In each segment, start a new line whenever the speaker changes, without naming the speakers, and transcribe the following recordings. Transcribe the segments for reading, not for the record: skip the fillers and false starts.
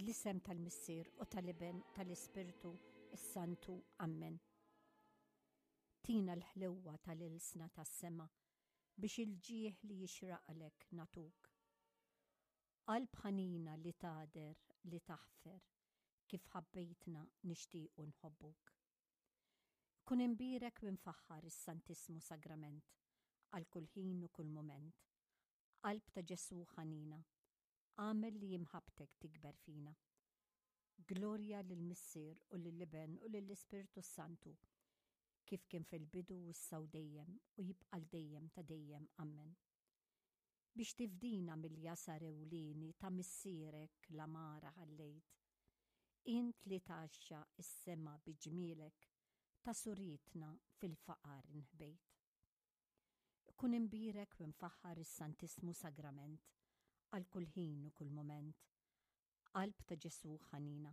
Fl-isem tal-Missier u tal-Iben tal-Ispirtu s-Santu. Ammen. Tina l-ħlewwa tal-ilsna tas-sema biex il-ġieħ li jixraqlek nagħtuk. Qalb ħanina li tagħder li taħfer kif ħabbejtna nixtiequ nħobbuk. Kun imbierek u imfaħħar is-Santissmu Sagrament għal kull ħin u kull mument. Qalb ta' Ġesù ħanina, agħmel li imħabbtek tikber fina. Glorja lill-Missier u lill-Iben u lill-Ispirtu s-Santu, kif kien fil-bidu issa u dejjem u jibqa' 'l dejjem ta' dejjem. Ammen. Biex tifdina mill-jasar ewlieni ta' missierek l-għamara ħallejt. Int li tgħaxxaq is-sema bi ġmielek, ta' surietna fil-faqar inħbejt. Ikun imbierek u imfaħħar is-Santissmu Sagrament għal kull ħin u kull mument. Qalb ta' Ġesù ħanina,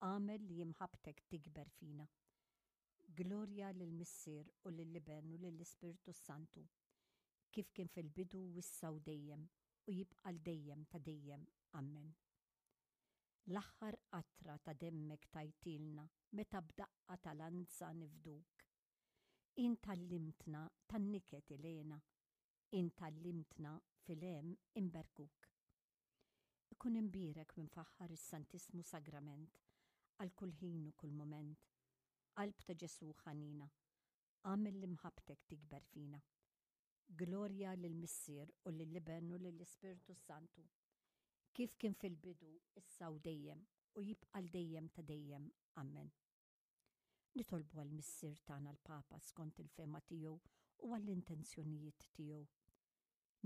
Agħmel li imħabbtek tikber fina. Glorja lill-Missier u lill-Iben u lill-Ispirtu s-Santu, kif kien fil-bidu u issa u dejjem u jibqa' 'l dejjem ta' dejjem. Ammen. L-aħħar qatra ta' demmek tajtilna meta b'daqqa ta' lanza nifduk. Int għallimtna tan-niket il-hena, int għallimtna fil-hemm inberkuk. Ikun imbierek u imfaħħar is-Santissmu Sagrament għal kull ħin u kull mument. Qalb ta' Ġesù ħanina, agħmel li mħabbtek tikber fina. Glorja lill-Missier u lill-Iben u lill-Ispirtu s-Santu, kif kien fil-bidu, issa u dejjem, u jibqa' 'l dejjem ta' dejjem. Ammen. Nitolbu għall-Missier tagħna l-Papa skont il-fehma tiegħu u għall-intenzjonijiet tiegħu.